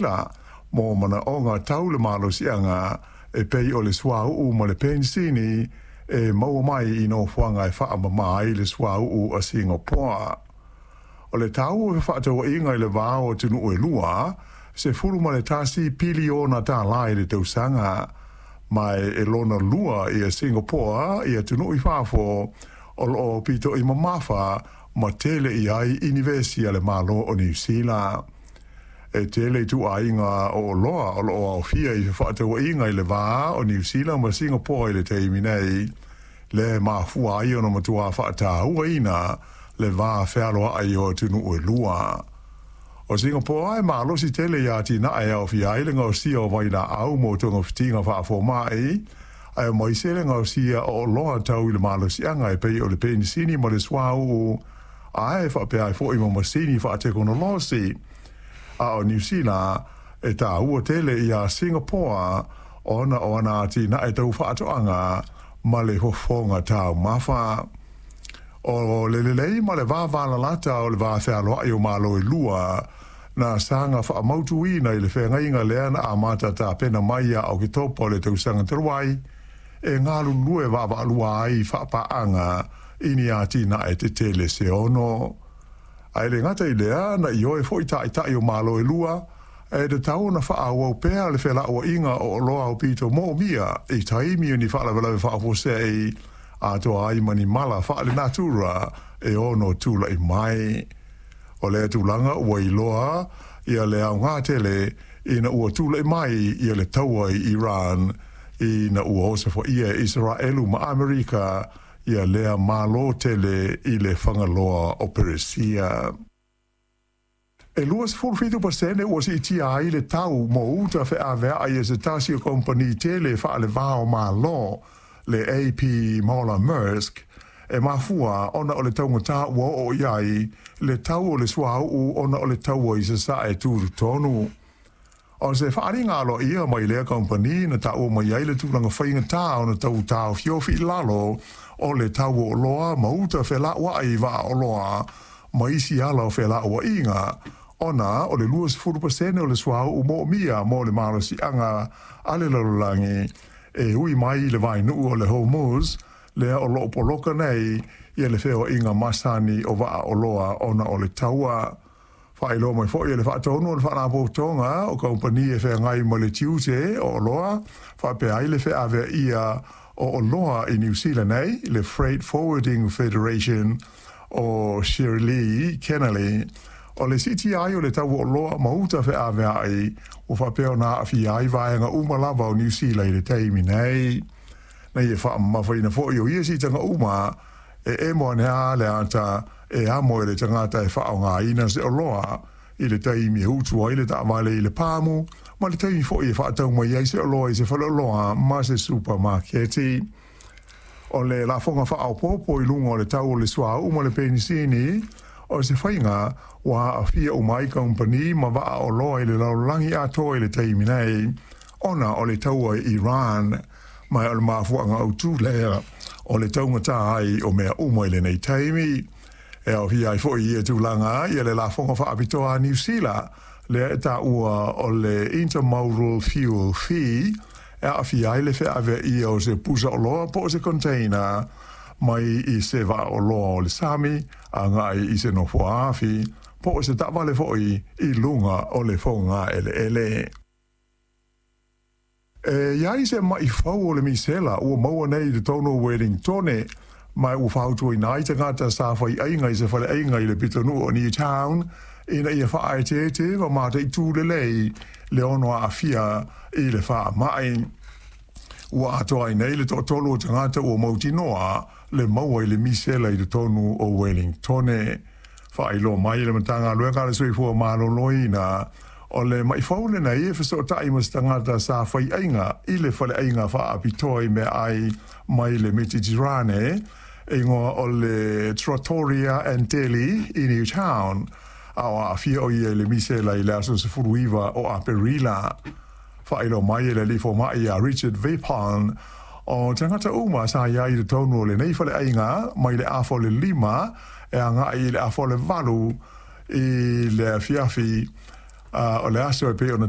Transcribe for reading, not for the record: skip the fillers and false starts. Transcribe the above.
Sila mo manaʻoga tau le malosiaga e pei o le suauu ma le penisini e maua mai i nofoaga e faamamā ai le suauu a Singapoa. O le tau o fefaatauaiga i le va o atunuu e lua, $11 piliona i le tausaga, ma e lona lua ia Singapoa i atunuu i fafo o loo aupito'i mamafa ma tele i ai inivesi a le Malo o Niu Sila. E tele ituaiga o oloa o loo aofia i fefaatauaiga i le va o Niu Sila ma Singapoa i le taimi nei, lea e mafua ai ona matuā faatauaina le va fealoai o atunuu e lua. O Singapoa e malosi tele iā atinae e aofia ai le gaosia o vailaau mo togafitiga faafoma'i, ae maise le gaosia o oloa tau i le malosiaga e pei o le penisini ma le suauu, ae faapea ai fo'i ma masini faatekonolosi. A o Niu Sila e tāua tele iā Singapoa ona o ana atinae tau faatoaga ma le fofoga taumafa. O le lelei ma le vavalalata o le va fealoai o Malo e lua na saga faamautuina i le feagaiga lea na amata tapena mai ia Oketopa o le tausaga talu ai, e galulue vaavaalua ai faapaaga i ni atinae tetele se ono. Ae le gata i lea, na ioe foi taitai o Malo e lua, e tatau ona faaauau pea le felauaiga o oloa aupito moomia i taimi o ni faalavelave faafuasei, atoa ai ma ni mala faalenatura e ono tula'i mai. O lea tulaga ua iloa ia le aogā tele ina ua tula'i mai ia le taua i Iran, ina ua osofaia e Isaraelu ma Amerika ia lea malo tele i le fagaloa o Peresia. E 27% ua siitia ai le tau mo uta feaveai e se tasi o kamupani tele faalevā o Malo, le AP Moller Maersk, e mafua ona o le taugatā ua oo i ai le tau o le suauu ona o le taua i sasae tutotonu. O se faaaliga aloaia mai lea kamupani na taua mai ai le tulaga faigata ona tau taofiofi i lalo o le tau o oloa ma uta felauai i vaa oloa ma isi ala o felauaiga, ona o le 20% o le suauu moomia mo le malosiaga a le lalolagi e ui mai i le vainuu o le Hormuz, lea o loo poloka nei ia le feoaiga masani o vaa oloa ona o le taua. Faailoa mai foi e le faatonu o le faalapotopotoga o kamupani e feagai ma le tiute o oloa faapea ai le feaveaia o oloa i Niu Sila nei, le Freight Forwarding Federation, o Shirley Kennelly, o le siitia ai o le tau o oloa ma uta feaveai ua faapea ona aafia ai vaega uma lava o Niu Sila i le taimi nei. Na ia faamamafaina foi o ia siitaga uma e emo ane lava le ata e amo e le tagata e faaaogaina se oloa i le taimi e utu ai le taavale i le pamu, ma le taimi foi e faatau mai ai se oloa i se faleoloa ma se supamaketi. O le lafoga faaopoopo i luga o le tau o le suauu ma le penisini, o se faiga ua aafia uma ai kamupani ma vaa oloa i le lalolagi atoa i le taimi nei, ona o le taua i Iran, ma o le mafuaaga autū lea o le taugatā ai o mea uma i lenei taimi. E aofia ai foi i ia tulaga ia le lafoga faapitoa a Niu Sila, lea e taua o le Intermodal Fuel Fee, e aafia ai le feaveaia o se pusa oloa po o se container mai i se vaa oloa o le sami agai i se nofoa afi po o se taavale foi i luga o le fogaeleele. E i ai se ma'i fou o le misela ua maua nei i totonu o Wellingtone, ma ua fautuaina ai tagata sa faiaiga i se faleaiga i le pitonuu o Newtown ina ia faaeteete ma mataitū lelei le ono aafia i le faamai. Ua atoa ai nei le toatolu o tagata ua mautinoa le maua i le misela i totonu o Wellingtone. Faailoa mai e le Matagaluega a le Soifua Maloloina, o le ma'i fou lenei e fesootai ma se tagata sa faiaiga i le faleaiga faapitoa i meaai mai le Metitirane e igoa o le Trattoria and Deli i Newtown, a o aafia o ia i le misela i le aso 19 o Aperila. Faailoa mai e le alii fomai ia Richard Vipon, o tagata uma sa i ai i totonu o lenei faleaiga mai le 4:30 e agai i le 7:30 i le afiafi o le aso e pei ona